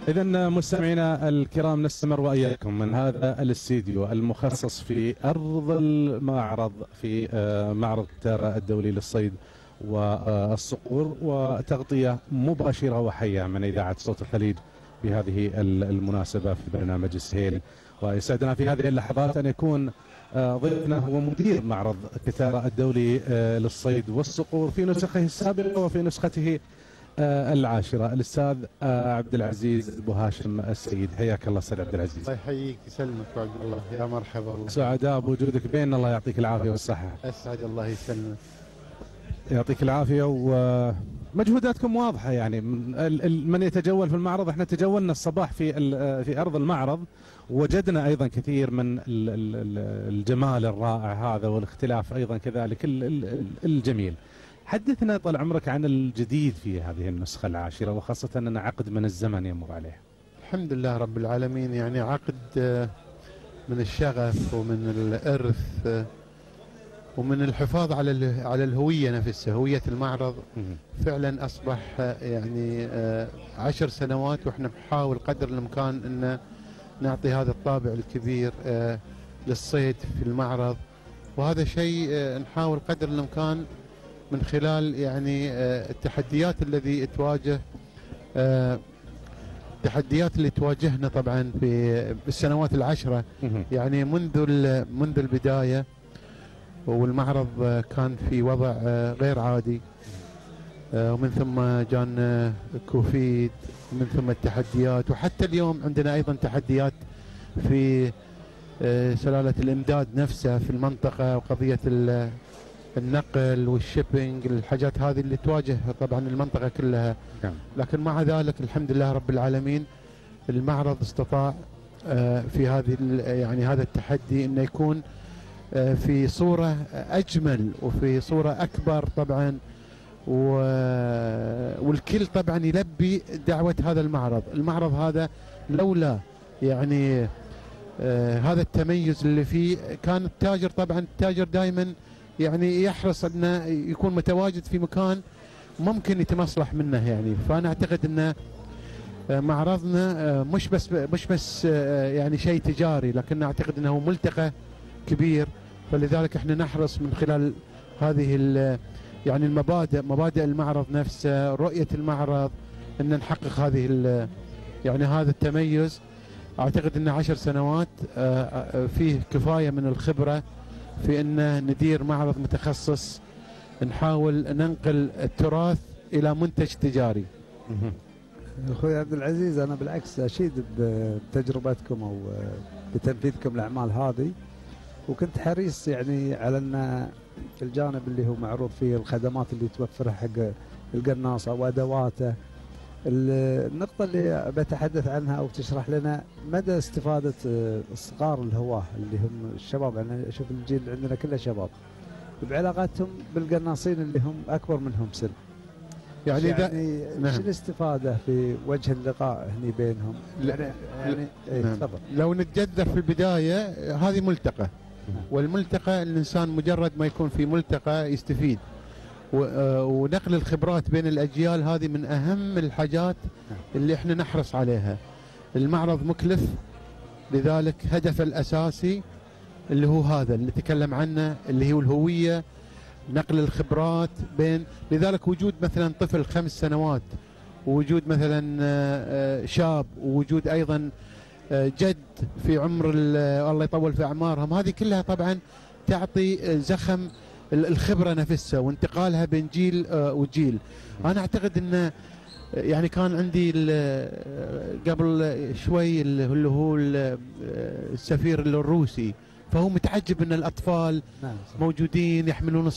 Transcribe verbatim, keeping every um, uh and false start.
إذا مستمعينا الكرام نستمر وإياكم من هذا الاستديو المخصص في أرض المعرض في معرض كتارا الدولي للصيد والصقور، وتغطية مباشرة وحية من إذاعة صوت الخليج بهذه المناسبة في برنامج السهيل. ويسعدنا في هذه اللحظات أن يكون ضيفنا هو مدير معرض كتارا الدولي للصيد والصقور في نسخه السابقة وفي نسخته العاشرة، الأستاذ عبد العزيز أبو هاشم السيد. حياك الله أستاذ عبد العزيز. الله يحييك يسلمك وعبد الله، يا مرحبا. سعداء بوجودك بيننا، الله يعطيك العافية والصحة. أسعد الله يسلمك. يعطيك العافية. ومجهوداتكم واضحة، يعني من يتجول في المعرض، احنا تجولنا الصباح في في أرض المعرض وجدنا أيضا كثير من الجمال الرائع هذا والاختلاف أيضا كذلك الجميل. حدثنا طال عمرك عن الجديد في هذه النسخة العاشرة، وخاصة أن عقد من الزمن يمر عليه. الحمد لله رب العالمين، يعني عقد من الشغف ومن الإرث ومن الحفاظ على على الهوية نفسها، هوية المعرض. فعلا أصبح يعني عشر سنوات وإحنا بنحاول قدر الإمكان أن نعطي هذا الطابع الكبير للصيد في المعرض، وهذا شيء نحاول قدر الإمكان من خلال يعني التحديات الذي تواجه التحديات اللي تواجهنا طبعا في بالسنوات العشرة، يعني منذ منذ البداية، والمعرض كان في وضع غير عادي، ومن ثم جانا كوفيد، ومن ثم التحديات، وحتى اليوم عندنا أيضا تحديات في سلالة الإمداد نفسها في المنطقة، وقضية النقل والشيبينج، الحاجات هذه اللي تواجه طبعا المنطقة كلها. لكن مع ذلك الحمد لله رب العالمين المعرض استطاع في هذه يعني هذا التحدي انه يكون في صورة أجمل وفي صورة أكبر طبعا، والكل طبعا يلبي دعوة هذا المعرض. المعرض هذا لولا يعني آه هذا التميز اللي فيه، كان التاجر طبعا التاجر دائما يعني يحرص انه يكون متواجد في مكان ممكن يتمصلح منه يعني. فانا اعتقد ان معرضنا مش بس مش بس يعني شيء تجاري، لكن اعتقد انه ملتقى كبير، فلذلك احنا نحرص من خلال هذه يعني المبادئ، مبادئ المعرض نفسه، رؤية المعرض، ان نحقق هذه يعني هذا التميز. اعتقد ان عشر سنوات فيه كفاية من الخبرة في ان ندير معرض متخصص، نحاول ننقل التراث الى منتج تجاري. اخوي عبد العزيز، انا بالعكس اشيد بتجربتكم او بتنفيذكم الاعمال هذه، وكنت حريص يعني على ان الجانب اللي هو معروض فيه الخدمات اللي توفرها حق القناصه وادواته. النقطه اللي بتحدث عنها او تشرح لنا مدى استفاده الصغار الهواه اللي هم الشباب، انا اشوف الجيل عندنا كله شباب، بعلاقاتهم بالقناصين اللي هم اكبر منهم سن. يعني يعني نعم. شو الاستفاده في وجه اللقاء هني بينهم؟ يعني, يعني ايه نعم. تفضل. لو نتجذر في البدايه، هذه ملتقى، نعم. والملتقى الانسان مجرد ما يكون في ملتقى يستفيد، ونقل الخبرات بين الاجيال هذه من اهم الحاجات نعم. اللي احنا نحرص عليها. المعرض مكلف، لذلك هدفه الاساسي اللي هو هذا اللي تكلم عنه، اللي هو الهويه، نقل الخبرات بين. لذلك وجود مثلا طفل خمس سنوات، ووجود مثلا شاب، ووجود ايضا جد في عمر الله يطول في اعمارهم، هذه كلها طبعا تعطي زخم الخبره نفسها وانتقالها بين جيل وجيل. انا اعتقد انه يعني كان عندي قبل شوي اللي هو السفير الروسي، فهو متعجب ان الاطفال موجودين يحملون